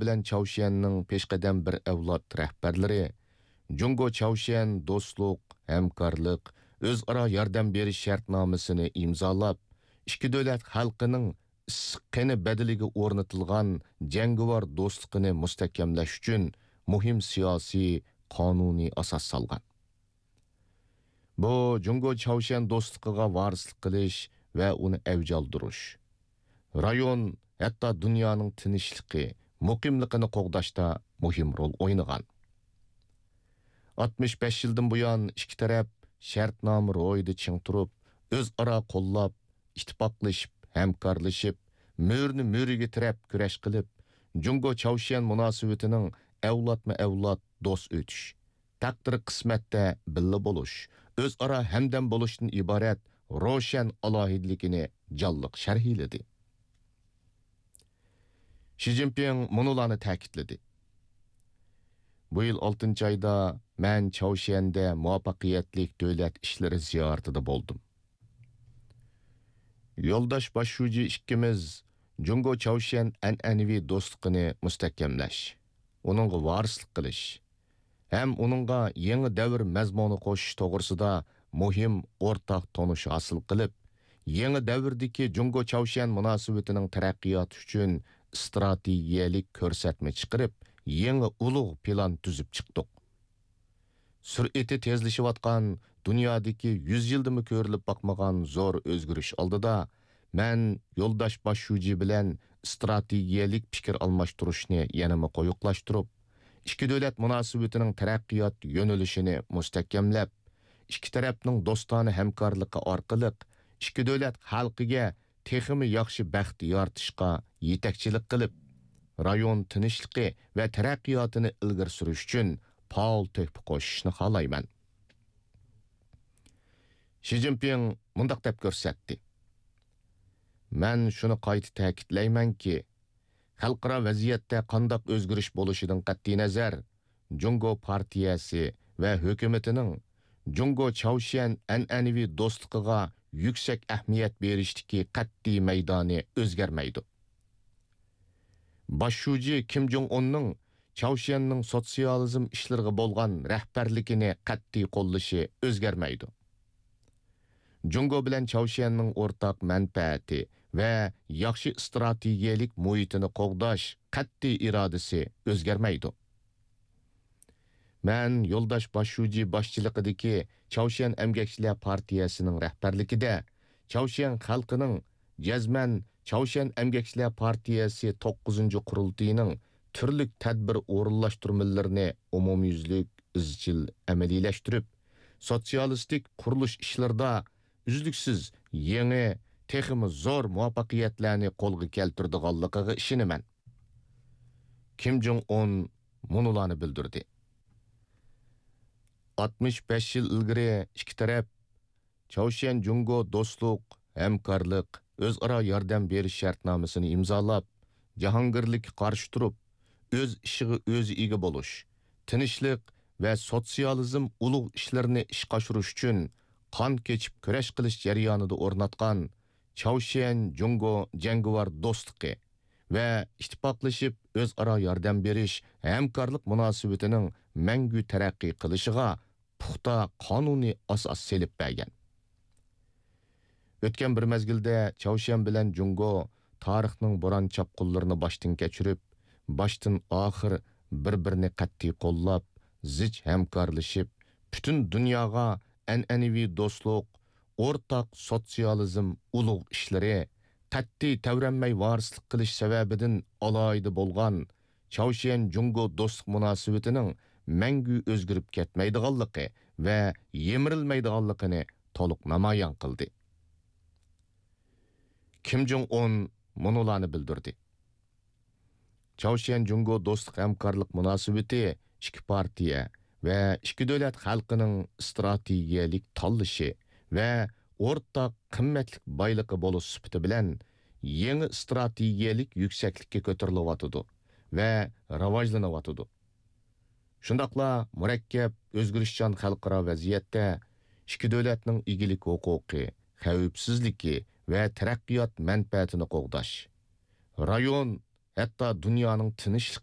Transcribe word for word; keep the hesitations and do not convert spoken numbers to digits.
بىلەن چاۋشيەننىڭ پېشقەدەم بىر ئەۋلاد رەھبەرلىرى جۇڭگو چاۋشيەن دوستلۇق، ھەمكارلىق، ئۆزئارا ياردەم بېرىش شەرتنامىسىنى ئىمزالاپ، ئىككى دۆلەت خەلقىنىڭ ئىسسىق قېنى بەدىلىگە ئورنىتىلغان جەڭگىۋار دوستلۇقىنى مۇستەھكەملەش ئۈچۈن مۇھىم سىياسىي، قانۇنىي ئاساس سالغان. بۇ جۇڭگو چاۋشيەن دوستلۇقىغا ۋارىسلىق قىلىش ۋە ئۇنى ئەۋج ئالدۇرۇش، رايون، ھەتتا دۇنيانىڭ تىنچلىقى، مۇقىملىقىنى قوغداشتا مۇھىم رول ئوينىغان. ئاتمىش بەش يىلدىن بۇيان ئىككى تەرەپ شەرتنامە روھىدا چىڭ تۇرۇپ، ئۆزئارا قوللاپ، ئىتتىپاقلىشىپ، ھەمكارلىشىپ، مۈرىنى مۈرىگە تىرەپ كۈرەش قىلىپ، جۇڭگو چاۋشيەن مۇناسىۋىتىنىڭ ئەۋلادمۇ ئەۋلاد دوست ئۆتۈش، تەقدىر قىسمەتتە بىللە بولۇش، ئۆزئارا ھەمدەم بولۇشتىن ئىبارەت روشەن ئالاھىدىلىكىنى جانلىق شەرھلىدى. شى جىنپىڭ مۇنۇلارنى تەكىتلىدى: بۇ يىل ئالتىنچى ئايدا مەن چاۋشيەندە مۇۋەپپەقىيەتلىك دۆلەت ئىشلىرى زىيارىتىدە بولدۇم. يولداش باش شۇجى ئىككىمىز جۇڭگو چاۋشيەن ئەنئەنىۋى دوستلۇقىنى مۇستەھكەملەش، ئۇنىڭغا ۋارىسلىق قىلىش ھەم ئۇنىڭغا يېڭى دەۋر مەزمۇنى قوشۇش توغرىسىدا مۇھىم ئورتاق تونۇش ھاسىل قىلىپ، يېڭى دەۋردىكى جۇڭگو چاۋشيەن مۇناسىۋىتىنىڭ تەرەققىياتى ئۈچۈن ئىستراتېگىيەلىك كۆرسەتمە چىقىرىپ، يېڭى ئۇلۇغ پىلان تۈزۈپ چىقتۇق. سۈرئىتى تېزلىشىۋاتقان دۇنيادىكى يۈز يىلدىمۇ كۆرۈلۈپ باقمىغان زور ئۆزگىرىش ئالدىدا، مەن يولداش باش شۇجى بىلەن ئىستراتېگىيەلىك پىكىر ئالماشتۇرۇشنى يەنىمۇ قويۇقلاشتۇرۇپ، ئىككى دۆلەت مۇناسىۋىتىنىڭ تەرەققىيات يۆنىلىشىنى مۇستەھكەملەپ، ئىككى تەرەپنىڭ دوستانە ھەمكارلىقى ئارقىلىق ئىككى دۆلەت خەلقىگە تېخىمۇ ياخشى بەخت يارىتىشقا يېتەكچىلىك قىلىپ، رايون تىنچلىقى ۋە تەرەققىياتىنى ئىلگىرى سۈرۈش ئۈچۈن پائال تۆھپە قوشۇشنى خالايمەن. شى جىنپىڭ مۇنداق دەپ كۆرسەتتى: مەن شۇنى قايتا تەكىتلەيمەنكى، خەلقئارا ۋەزىيەتتە قانداق ئۆزگىرىش بولۇشىدىن قەتئىينەزەر، جۇڭگو پارتىيەسى ۋە ھۆكۈمىتىنىڭ جۇڭگو چاۋشيەن ئەنئەنىۋى دوستلۇقىغا يۈكسەك ئەھمىيەت بېرىشتىكى قەتئىي مەيدانى ئۆزگەرمەيدۇ. باش شۇجى كىم جوڭ ئۇننىڭ چاۋشيەننىڭ سوتسىيالىزم ئىشلىرىغا بولغان رەھبەرلىكىنى قەتئىي قوللىشى ئۆزگەرمەيدۇ. جۇڭگو بىلەن چاۋشيەننىڭ ئورتاق مەنپەئەتى ۋە ياخشى ئىستراتېگىيەلىك مۇھىتىنى قوغداش قەتئىي ئىرادىسى ئۆزگەرمەيدۇ. مەن يولداش باش شۇجى باشچىلىقىدىكى چاۋشيەن ئەمگەكچىلەر پارتىيەسىنىڭ رەھبەرلىكىدە چاۋشيەن خەلقىنىڭ جەزمەن چاۋشيەن ئەمگەكچىلەر پارتىيەسى توققۇزىنچى قۇرۇلتىيىنىڭ تۈرلۈك تەدبىر ئورۇنلاشتۇرمىلىرىنى ئومۇميۈزلۈك ئىزچىل ئەمەلىيلەشتۈرۈپ، سوتسىيالىستىك قۇرۇلۇش ئىشلىرىدا ئۈزلۈكسىز يېڭى، تېخىمۇ زور مۇۋەپپەقىيەتلەرنى قولغا كەلتۈرىدىغانلىقىغا ئىشىنىمەن. كىم جوڭ ئۇن مۇنۇلارنى بىلدۈردى: ئاتمىش بەش يىل ئىلگىرى ئىككى تەرەپ چاۋشيەن جۇڭگو دوستلۇق، ھەمكارلىق، ئۆزئارا ياردەم بېرىش شەرتنامىسىنى ئىمزالاپ، جاھانگىرلىككە قارشى تۇرۇپ، ئۆز ئىشىغا ئۆزى ئىگە بولۇش، تىنچلىق ۋە سوتسىيالىزم ئۇلۇغ ئىشلىرىنى ئىشقا ئاشۇرۇش ئۈچۈن قان كېچىپ كۈرەش قىلىش جەريانىدا ئورناتقان چاۋشيەن جۇڭگو جەڭگىۋار دوستلۇقى ۋە ئىتتىپاقلىشىپ ئۆزئارا ياردەم بېرىش، ھەمكارلىق مۇناسىۋىتىنىڭ مەڭگۈ تەرەققىي قىلىشىغا پۇختا قانۇنىي ئاساس سېلىپ بەرگەن. ئۆتكەن بىر مەزگىلدە چاۋشيەن بىلەن جۇڭگو تارىخنىڭ بوران-چاپقۇنلىرىنى باشتىن كەچۈرۈپ، باشتىن-ئاخىر بىر-بىرىنى قەتئىي قوللاپ، زىچ ھەمكارلىشىپ، پۈتۈن دۇنياغا ئەنئەنىۋى دوستلۇق، ئورتاق سوتسىيالىزم ئۇلۇغ ئىشلىرى، قەتئىي تەۋرەنمەي ۋارىسلىق قىلىش سەۋەبىدىن ئالاھىدە بولغان چاۋشيەن جۇڭگو دوستلۇق مۇناسىۋىتىنىڭ مەڭگۈ ئۆزگىرىپ كەتمەيدىغانلىقى ۋە يىمىرىلمەيدىغانلىقىنى تولۇق نامايان قىلدى. كىم جوڭ ئۇن مۇنۇلارنى بىلدۈردى: چاۋشيەن جۇڭگو دوستلۇق ھەمكارلىق مۇناسىۋىتى ئىككى پارتىيە ۋە ئىككى دۆلەت خەلقىنىڭ ئىستراتېگىيەلىك تاللىشى ۋە ئورتاق قىممەتلىك بايلىقى بولۇش سۈپىتى بىلەن يېڭى ئىستراتېگىيەلىك يۈكسەكلىككە كۆتۈرۈلۈۋاتىدۇ ۋە راۋاجلىنىۋاتىدۇ. شۇنداقلا مۇرەككەپ، ئۆزگىرىشچان خەلقئارا ۋەزىيەتتە ئىككى دۆلەتنىڭ ئىگىلىك ھوقۇقى، خەۋپسىزلىكى ۋە تەرەققىيات مەنپەئەتىنى قوغداش، رايون، ھەتتا دۇنيانىڭ تىنچلىقى